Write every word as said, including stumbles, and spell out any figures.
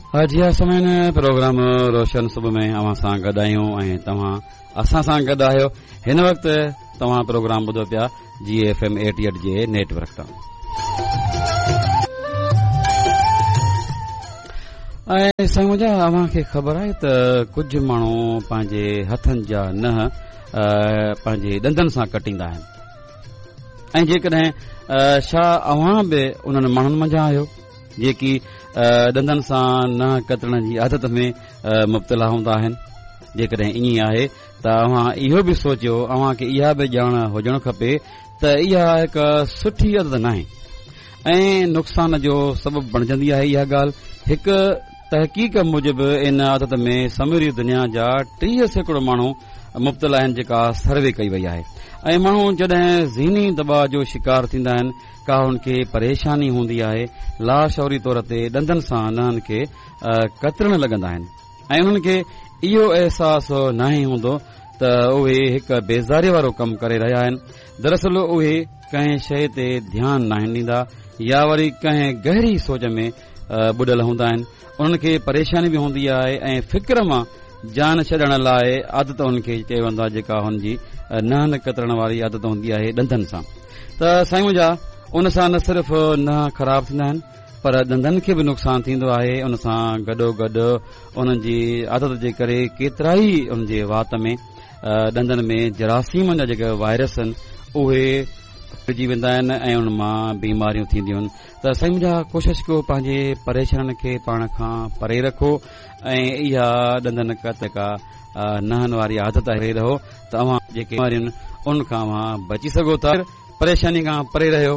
جي ها سامعين، پروگرام روشن صبح ۾ اوهان سان گڏ آهيون ۽ توهان اسان سان گڏ آهيو. هن وقت توهان پروگرام ٻڌو پيا جي ايف ايم ايٽي ايٽ جي نيٽ ورڪ تان. ۽ سائين منهنجا، اوهان کي خبر آهي ته ڪجهه ماڻهو پنهنجي هٿن جا ننهن پنهنجي ڏندن سان ڪٽيندا آهن، ۽ جيڪڏهن ڇا اوهان به انهن ماڻهن منجهان آهيو جيڪي ڏندن سان ننهن ڪترڻ جي عادت ۾ مبتلا هوندا آهن؟ جيڪڏهن ائين آهي ته اوهان اهو به سوچيو، اوهان کي اها به ڄاڻ هجڻ کپي ته اها هڪ سٺي عادت ناهي ۽ نقصان جو سبب بڻجندي آهي. اها ڳالهه هڪ تحقيق موجب ان عادت ۾ سموري دنيا جا ٽيهه سيڪڙو ماڻهو مبتلا آهن، جيڪا سروي ڪئي وئي آهي. ۽ ماڻهو جڏهن ذهني دٻاء جو شڪار ٿيندا آهن، ڪا هن کي پريشاني هوندي آهي، لاشعوري طور تي ڏندن سان ننهن کي ڪترڻ لڳندا آهن ۽ انهن کي اهو احساس ناهي هوندو ته اهي هڪ بيزاري وارو ڪم ڪري رهيا آهن. دراصل اهي ڪنهن شيء تي ڌيان ناهن ڏيندا يا وري ڪنهن گهري سوچ ۾ ٻڏل هوندا آهن. انهن کي پريشاني به هوندي آهي ۽ فڪر مان جان ڇڏڻ لاء عادت انهن کي چيو ويندو آهي، جيڪا هن جي ننهن ڪترڻ واري عادت هوندي آهي ڏندن سان. ته سائين منهنجا، ان سان نه صرف ننهن خراب ٿيندا آهن پر ڏندن کي به نقصان ٿيندو آهي. ان سان گڏو گڏ انهن جي عادت جي ڪري ڪيترائي انهن جي وات ۾ ڏندن ۾ جراثيمن جا جيڪي وائرس آهن اهي ڦهلجي ويندا آهن ۽ انهن مان بيماريون ٿينديون آهن. ته سائين منهنجا، ڪوشش ڪيو پنهنجي پريشانين کي پاڻ کان پري رکو ۽ اها ڏندن ڪا ننهن واري عادت آهي رهو ته اوهان جيڪي بيماريون ان کان اوهان بچي سگهو ٿا. پريشاني کان پري رهيو،